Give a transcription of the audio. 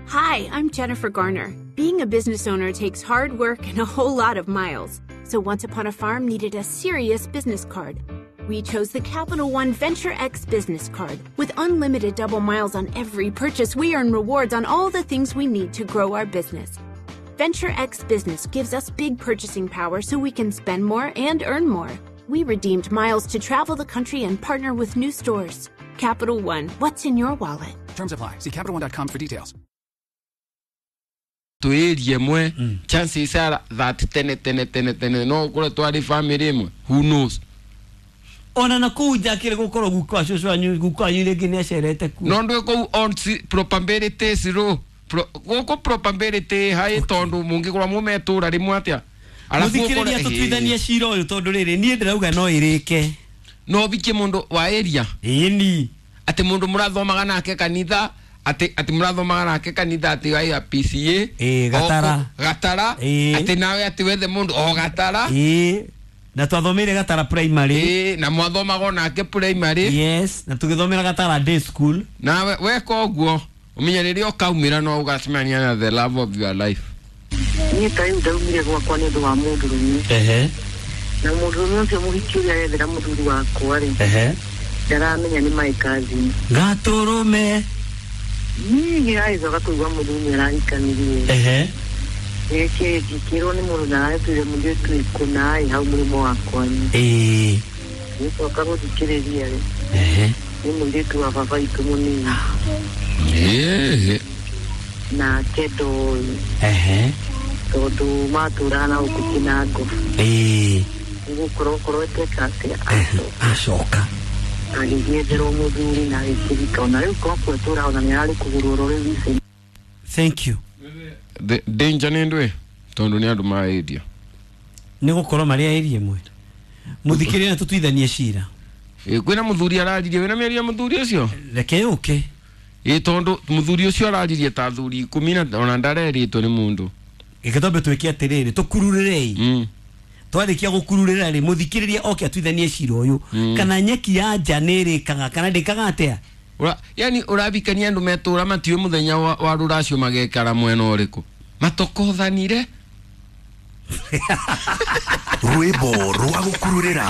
Hi, I'm Jennifer Garner. Being a business owner takes hard work and a whole lot of miles. So Once Upon a Farm needed a serious business card. We chose the Capital One Venture X business card. With unlimited double miles on every purchase, we earn rewards on all the things we need to grow our business. Venture X Business gives us big purchasing power so we can spend more and earn more. We redeemed miles to travel the country and partner with new stores. Capital One, what's in your wallet? Terms apply. See CapitalOne.com for details. Tuirie mwe chances are that tene tene tene tene no kure twari family imwe, who knows. Ona na kuu njakire gukorwo guka cucu wanyu, guka wanyu rĩngĩ nĩ acerete kuo. No ndwe kuu on probabilities ro guku probability hai tondu mungikorwo mumetura rimwe atia. Muthikĩrĩria tũtuithanie cira ũyũ tondũ rĩrĩ niĩ ndĩrauga no ĩrĩke. No bikie mundu wa area. Ĩni. Ati mundu murathomaga nake kanitha, ati murathomaga nake kanitha ati wa PCA. Ĩ Gatara. Gatara. Ati nawe ati wethe mundu o Gatara. Ĩ. Na twathomeire Gatara primary. Ĩ, na mwathomaga nake primary. Yes, na tugithomera Gatara day school. Nawe weka ũguo umenye rĩrĩa ũkaumĩra no ũgacemania na the love of your life. Niĩ ta rĩu ndaumire gwakwa nĩ ũndũ wa mũndũrũme. Ehe. Na mũndũrũme ũcio mũhiki ũrĩa arethera mũthuri wakwa rĩ. Ehe. Ndaramenya nĩ my cousin. Gatũrũme. Niĩ ngĩragĩcoka kũigua mũthuri nĩ arahikanirie. Ehe. Gĩkĩ ngĩkĩrwo nĩ mũndũ ndaretire mũirĩtu kũna ĩ hau mũrĩmo wakwa. Ĩĩ. Gĩcoka gũthikĩrĩria rĩ. Ehe. Nĩ mũirĩtu wa baba witũ mũnini. Ĩĩ. Nake ndoĩ. Ehe. Tondũ matũraga na gũkũ Kĩnango. Ĩĩ. Nĩgũkorwo okorwo eteka atĩa acoka. Agĩgĩetherwo mũthuri na agĩkĩhika ona rĩu korwo etũraga ona nĩararĩ kũgũrwo oro rĩu ici. Thank you. The danger nĩ ndũĩ tondũ nĩ andũ ma area. Nĩ gũkorwo marĩ a area ĩmwe. Mũthikĩrĩria na tũtuithanie cira. Ĩ kwĩna mũthuri araririe, wĩna mĩario ya mũthuri ũcio? Reke yũke. Ĩ tondũ mũthuri ũcio araririe ta athuri 10 na ona ndarerĩtwo nĩ mũndũ. Gĩke twambe twĩke atĩrĩrĩ, tũkururĩrei. Twarĩkia gũkururĩra rĩ, mũthikĩrĩria oke atuithanie cira ũyũ. Kana nyeki ya nja nĩ ĩrĩkaga kana ndĩkaga atĩa? Yani ũrabikania andũ metũra matiũĩ mũthenya wa rũracio magekara mwena ũrĩkũ. Matokothanire. Rwĩmbo rwa gũkururĩra.